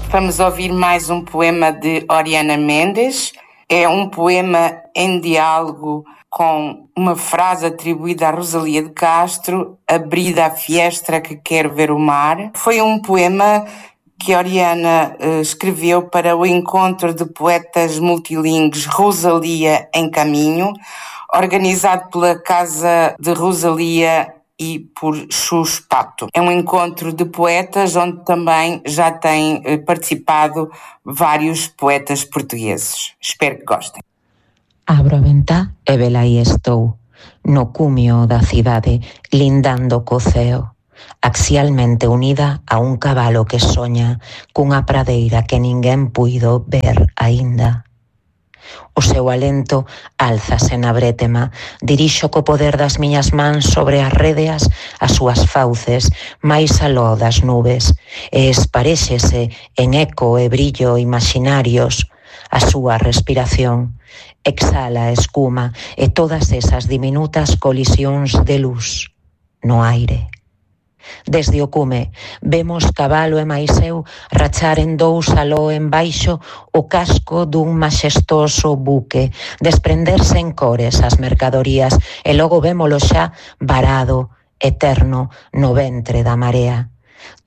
Vamos ouvir mais um poema de Oriana Mendes. É um poema em diálogo com uma frase atribuída a Rosalía de Castro, Abrida a fiestra que quero ver o mar. Foi um poema que Oriana escreveu para o encontro de poetas multilingües Rosalía em Caminho, organizado pela Casa de Rosalía e por Xus Pato. É um encontro de poetas onde também já têm participado vários poetas portugueses. Espero que gostem. Abro a ventá e vela aí estou, no cumio da cidade, lindando co ceo, axialmente unida a un cabalo que soña cunha pradeira que ninguén puido ver aínda. O seu alento álzase na brétema, dirixo co poder das miñas mans sobre as rédeas as súas fauces máis aló das nubes e esparéxese en eco e brillo imaginarios a súa respiración. Exhala a escuma e todas esas diminutas colisións de luz no aire. Desde o cume vemos cabalo e máis eu rachar en dous aló en baixo o casco dun maxestoso buque, desprenderse en cores as mercadorías e logo vémolo xa varado, eterno, no ventre da marea.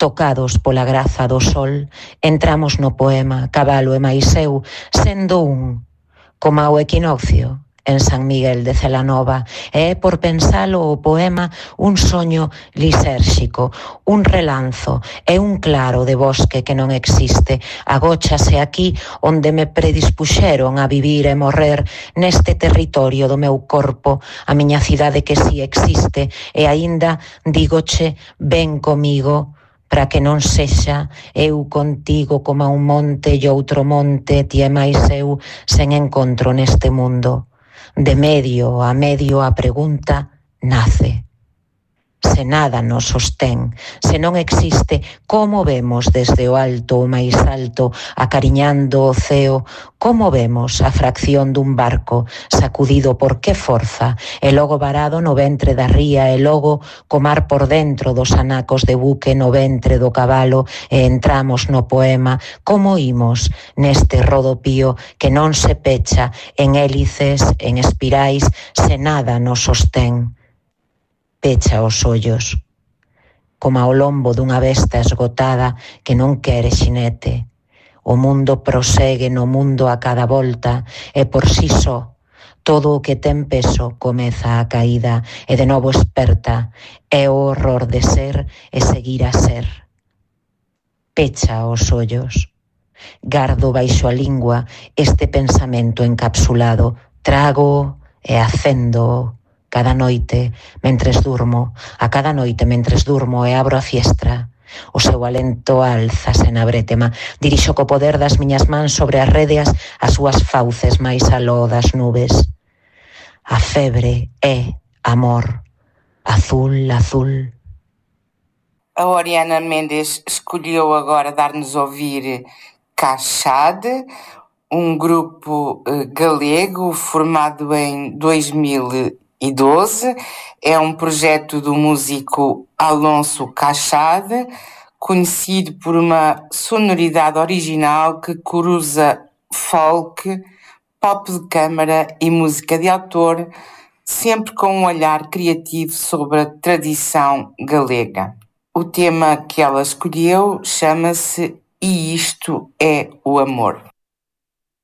Tocados pola graza do sol, entramos no poema cabalo e máis eu sendo un, como ao equinoccio en San Miguel de Celanova, e é por pensalo o poema un soño lisérxico, un relanzo e un claro de bosque que non existe, agóchase aquí onde me predispuxeron a vivir e morrer neste territorio do meu corpo, a miña cidade que si existe e aínda dígoche ven comigo, para que non sexa eu contigo como un monte e outro monte, ti e máis eu sen encontro neste mundo. De medio a pregunta nace. Se nada nos sostén, se non existe, como vemos desde o alto o máis alto, acariñando o ceo, como vemos a fracción dun barco sacudido por que forza, e logo varado no ventre da ría, e logo co mar por dentro dos anacos de buque no ventre do cabalo, e entramos no poema, como imos neste rodopío que non se pecha en hélices, en espirais, se nada nos sostén. Pecha os ollos, como ao lombo dunha besta esgotada que non quere xinete. O mundo prosegue no mundo a cada volta e por si só todo o que ten peso comeza a caída e de novo esperta. É o horror de ser e seguir a ser. Pecha os ollos. Gardo baixo a lingua este pensamento encapsulado, trago e acendo cada noite mentres durmo, a cada noite mentres durmo e abro a fiestra. O seu alento álzase na brétema, dirixo co poder das miñas mans sobre as rédeas as súas fauces máis aló das nubes. A febre é amor, azul, azul. A Oriana Mendes escolheu agora dar-nos a ouvir Cachade, um grupo galego formado em 2012. É um projeto do músico Alonso Cachade, conhecido por uma sonoridade original que cruza folk, pop de câmara e música de autor, sempre com um olhar criativo sobre a tradição galega. O tema que ela escolheu chama-se E Isto é o Amor.